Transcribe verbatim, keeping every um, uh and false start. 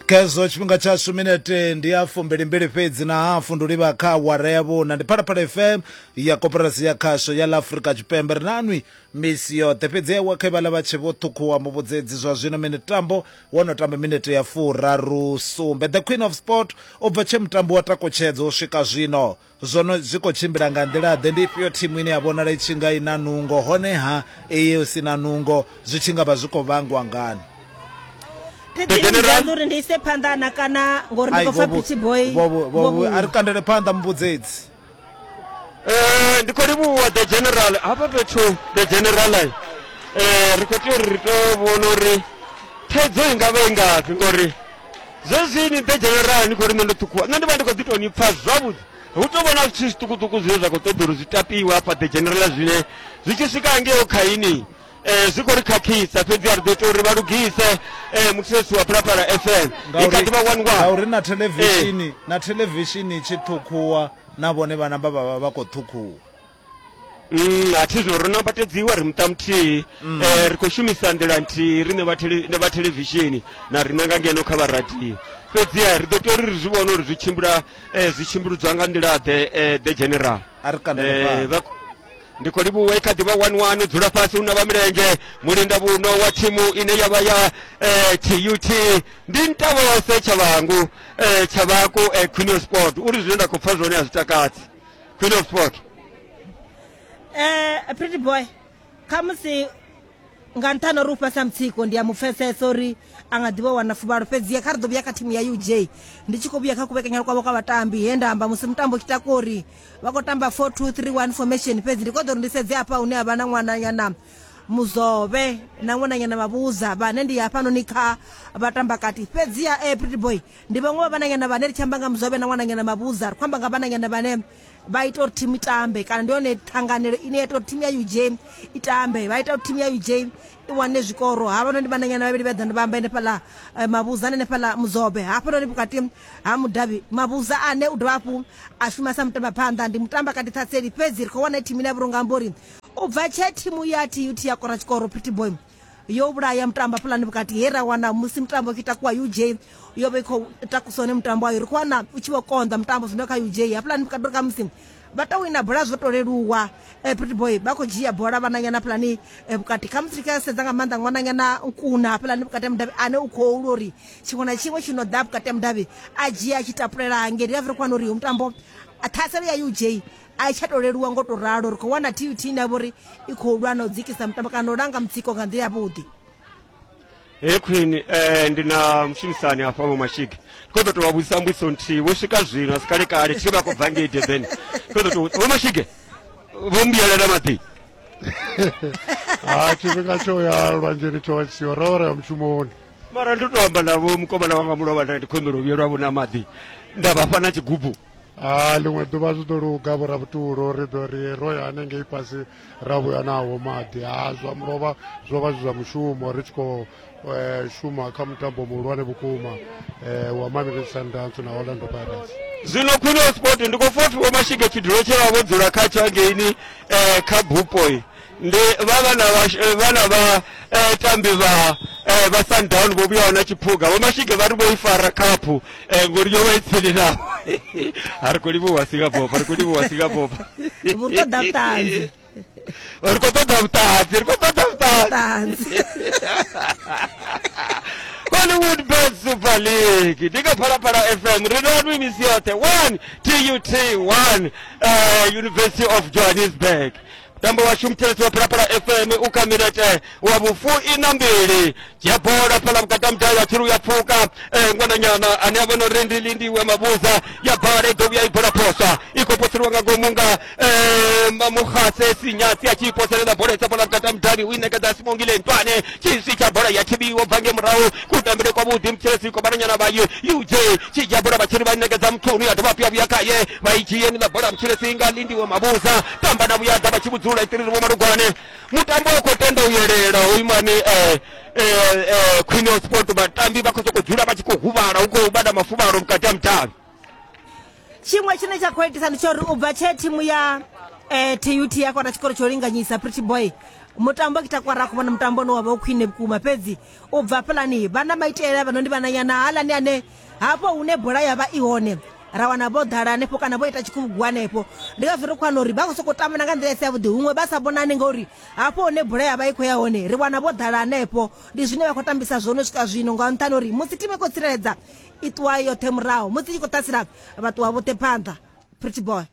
Khezwo tshifhinga tshashu minete ndi ya fumbilimbili fhedzi na hafu ndi livha kha awara ya vhuna. Ndi Phalaphala F M ya Koporasi ya Khasho ya ḽa Afrika Tshipembe. Ri nanwi misi yoṱhe, fhedzi ewa kha vhaḽa vha tshe vho ṱhukhuwa muvhudzedzi zwa zwino mitambo wo no tamba minete ya furaru sumbe. The Queen of Sport u bva tshe mutambo wa takutshedzo u swika zwino zwono zwi khou tshimbila nga nḓila ḓe? Ndi ifhio thimu ine ya vhonala i tshi nga i na nungo, honeha iyi si na nungo zwi tshi nga vha zwi khou vhangwa ngani? Uri ndi ise phanḓa na kana ngori ndi khou pfa Pretty Boy. A ri kandele phanḓa muvhudzedzi. Eh ndi khou livhuwa the general hafha fhethu, the general eh ri khou tea uri ri to vhona uri thaidzo i nga vha i ngafhi, ngori zwezwini the general ni khou ri nṋe ndo ṱhukhuwa, nṋe ndi vha ndi khou ḓi tou ni pfa zwavhuḓi. Hu tou vhona zwithu zwiṱukuṱuku zwine zwa khou ṱoḓa uri zwi tapiwe hafha the general, zwine zwi tshi swika hangei khaini eh zwi khou ri khakhisa, fhedzi a ri ḓo ita uri vha lugise. eh muthetshelesi wa Phalaphala F M i kha ḓi vha one one, ngauri na thelevishini na thelevishini tshi ṱhukhuwa na vhone vha namba vha vha vha khou ṱhukhuwa. Mm a thi zwo ro nambatedziwa ri muṱa muthihi, eh ri khou shumisa nḓila nthihi riṋe vha tele vha thelevishini na riṋe nga ngeno kha vha radio, fhedzi ri ḓo tea uri ri zwi vhone uri zwi tshimbila zwi tshimbiludzwa nga nḓila ḓe. The general a ri kandele phanḓa. Ndi khou livhuwa i kha ḓi vha one one, dzula fhasi hu na vha milenzhe mulinda vhuno wa thimu ine ya vha ya T U T ndi Ntavhose Tshavhangu Tshavhaku Queen of Sport. Uri zwine nda khou pfa zwone a zwi takadzi. Queen of Sport. Eh Pretty Boy, khamusi nga nṱhani uri u fhasa mutsiko ndi ya mupfesesa uri a nga ḓivha wana fuvhalo, fhedzi kha ri ḓo vhuya kha thimu ya U J. Ndi tshi khou vhuya kha kuvhekanyela kwavho kwa vhatambi he nda amba musi mutambo u tshi takuwa uri vha khou tamba four two three one formation, fhedzi ndi khou ḓo uri ndi sedze hafha hune ha vha na ṅwananyana Muzovhe na ṅwananyana Mavhuza vhane ndi hafhanoni kha vhatamba kati. Fhedzi ya eh, Pretty Boy ndi vhaṅwe vha vhananyana vhane ri tshi amba nga Muzovhe na ṅwananyana Mavhuza ri khou amba nga vhananyana vhane vha ita uri thimu itambe, kana ndi yone ṱhanganelo ine ya ita uri thimu ya U J itambe, vha ita uri thimu ya U J i wane zwikoro. Havha ndi vhananyana vhavhili vha ḓa vha amba henefhaḽa Mavhuza na henefhaḽa Muzovhe, hafhanoni vhukati ha mudavhi Mavhuza ane u dovha hafhu a shuma sa mutamba phanḓa ndi mutamba kati ṱhatseli. Fhedzi ri khou wana thimu ine ya vhurunga amba uri u bva tshe thimu ya T U T ya kora tshikoro Pretty Boy yo vhulaya mutambo hafhaḽani vhukati he ra wana musi mutambo u tshi takuwa U J yo vha i khou takusa hone mutambo wayo, ri khou wana u tshi vho konḓa mutambo zwino kha U J hafhaḽani vhukati uri khamusi vha tou wina bola zwo to leluwa. Pretty Boy vha khou dzhia bola vhananyana hafhaḽani vhukati, khamusi ri kha sedza nga maanḓa ṅwananyana Nkuna hafhaḽani vhukati ha mudavhi ane u khou lwa uri tshiṅwe na tshiṅwe tshi no ḓa vhukati ha mudavhi a dzhia a tshi tapulela hangei. Ndi ngazwo ri khou wana uri mutambo ṱhaselo ya U J a i tsha to leluwa ngo to ralo, ri khou wana T U T ine ya vha uri i khou lwa na u dzikisa mutambo kana u langa mutsiko nga nḓila yavhuḓi. He Queen, eh ndi na mushumisani hafha Vho Mashige, ndi khou ḓo tou vha vhudzisa mbudziso nthihi vho swika zwino a si kale kale tshi vha khou bva ngei Durban. Khou ḓo tou Vho Mashige vho mbiyelela maḓi. Ha tshifhinga tsho ya lwanzheni tsho vha tshi siho, ro ri ya mushumoni. Mara ndo to amba navho mukomana wanga mulovha nda ndi khou humbela u vhuyelwa vho na maḓi nda vha fha na tshigubu. Ha ḽiṅwe ḓuvha zwi ḓo luga vho Rabutulu, ri ḓo ri ro ya hanengei fhasi ra vhuya nawo maḓi. Ha zwa mulovha zwo vha zwi zwa mushumo, ri tshi khou shuma kha mutambo muhulwane vhukuma wa Mamelodi Sundowns na Orlando Pirates. Zwino Queen of Sport ndi khou pfa Vho Mashige tshidulo tshe vha vho dzula khatsho hangeini kha bupo ndi vha vhana vhana vha tambi vha vha Sundown vho vhuyaho na tshiphuga. Vho Mashige vha ri vho i fara khaphu ngori yo vha i tsini navho. A ri khou livhuwa Singapore, ri khou livhuwa Singapore. Vhu ṱoḓa vhuṱanzi. Ri khou ṱoḓa vhuṱanzi, ri khou ṱoḓa vhuṱanzi. Hollywood Bet Super League ndi kha Phalaphala F M, ri na nwi misi yoṱhe. One T U T one University of Johannesburg. Mutambo washu muthelesi wa Phalaphala F M u kha minete wa vhufuiṋa mbili. Dzhia bola fhaḽa vhukati ha mudavhi a tshi ri u ya pfuka ṅwananyana ane a vha na uri ndi Lindiwe Mabuza ya bala i ḓo vhuya i bola poswa i khou poseliwa nga ngomu nga Muhase Sinyatsi a tshi i poselela bola isa fhaḽa vhukati ha mudavhi u i ṋekedza Simongile Ntwane tshiswi tsha bola ya thivhiwa bva nge murahu kutambele kwavhuḓi muthelesi kwa vhananyana vha U J tshi dzhia bola vha tshi ri vha ṋekedza Mthunu ya dovha hafhu ya vhuya khaye vha i dzhie ni ḽa bola muthelesi nga Lindiwe Mabuza tamba na vhuya ḓa vha tshi vhudzula itiriri Vho Malugwane. Mutambo u khou tenda u yelela hoyu mani eh eh Queen of Sport, vhatambi vha khou sokou dzula vha tshi khou huvhala, hu khou vha na mafuvhalo vhukati ha mudavhi. Tshiṅwe tshine tsha khou itisa ndi tsha uri u bva tshe thimu ya eh, T U T ya kona tshikoro tsho linganyisa Pretty Boy Mutambo kitakwara khou vhona mutambo une wa vha u khwine vhukuma, fhedzi u bva hafhaḽani vha na maitele vha no ndi vhananyana haaḽani ane hafho hune bola ya vha i hone ra wana vho ḓala hanefho kana vho ita tshikhuvhugu hanefho. Ndi ngazwo ri khou wana uri vha khou sokou tamba na nga nḓila i si yavhuḓi, huṅwe vha sa vhonani ngauri hafho hune bola ya vha i khou ya hone ri wana vho ḓala hanefho. Ndi zwine vha khou tambisa zwone u swika zwino, nga nṱhani uri musi thimu i khou tsireledza i ṱuwa yoṱhe murahu, musi i tshi khou ṱasela vha ṱuwa vhoṱhe phanḓa. Pretty boy.